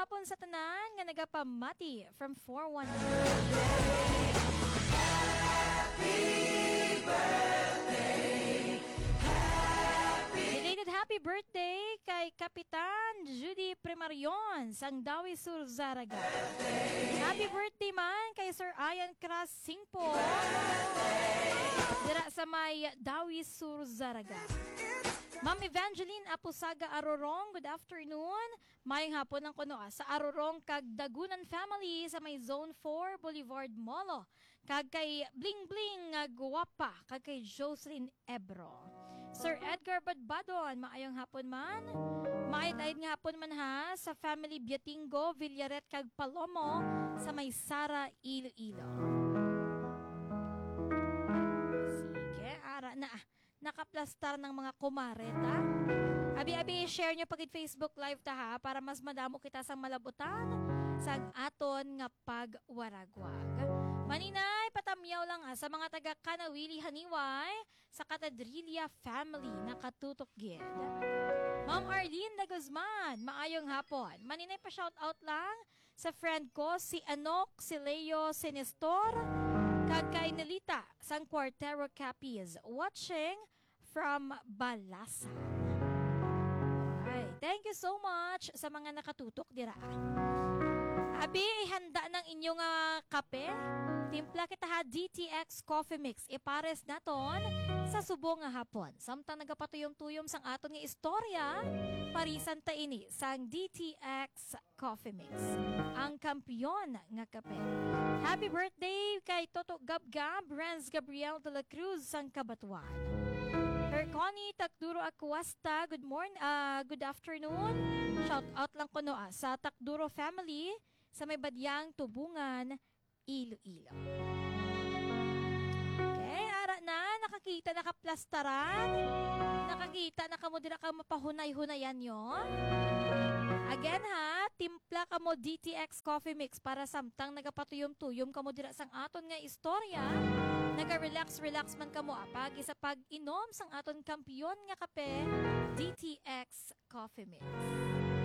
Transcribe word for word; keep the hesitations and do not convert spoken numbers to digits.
Hapon sa tanan nga nagapamati from four one. Belated happy birthday kay Kapitan Judy Primarion sang Dawi Sur, Zarraga. Happy birthday man kay Sir Ian Cras Singpo dira sa may Dawi Sur, Zarraga. Ma'am Evangeline Apusaga Arorong, good afternoon. Mayong hapon lang kuno, ah, sa Arorong kag Dagunan family sa may Zone four Boulevard, Molo. Kag kay Bling Bling nga gwapa, kag kay Jocelyn Ebro. Sir Edgar Badbadon, maayong hapon man. Maayt-ayt nga hapon man ha sa family Biatingo, Villaret kag Palomo sa may Sara, Iloilo. Sige, ara na. Nakaplastar ng mga kumare ta. Abi-abi, share nyo pagid Facebook Live ta ha, para mas madamo kita sang malabutan sang aton nga pagwaragwag. Maninay, patamyaw lang, ah, sa mga taga Kanawili Haniway, sa Katadrilia family, nakatutok gid. Ma'am Arlene de Guzman, maayong hapon. Maninay, pa shout out lang sa friend ko, si Anok, si Leo, si Nestor, kag kay Nelita sang Cuartero Capiz, watching from Balasa. Ay, thank you so much sa mga nakatutok dira. Abi, ihanda ng inyong, ah, kape. Timpla kita ha, D T X Coffee Mix. Ipares naton sa subong nga hapon. Samtang nagapatuyom-tuyom sang aton nga istorya, parisan ta ini sang D T X Coffee Mix, ang kampiyon nga kape. Happy birthday kay Toto Gabgab, Renz Gabriel de la Cruz sang Cabatuan. Her Connie Takduro Acuesta, good morning, ah, good afternoon. Shout out lang kuno, ah, sa Takduro family sa may Badyang Tubungan, Iloilo. Okay, ara na, nakakita, nakaplastaran. Nakakita na kamo dira kag mapahunay-hunayan nyo. Again ha, timpla kamo D T X Coffee Mix para samtang nagapatuyom-tuyom kamo dira sang aton nga istorya. Naga-relax-relax man kamo apagi sa pag-inom sang aton kampiyon nga kape, D T X Coffee Mix.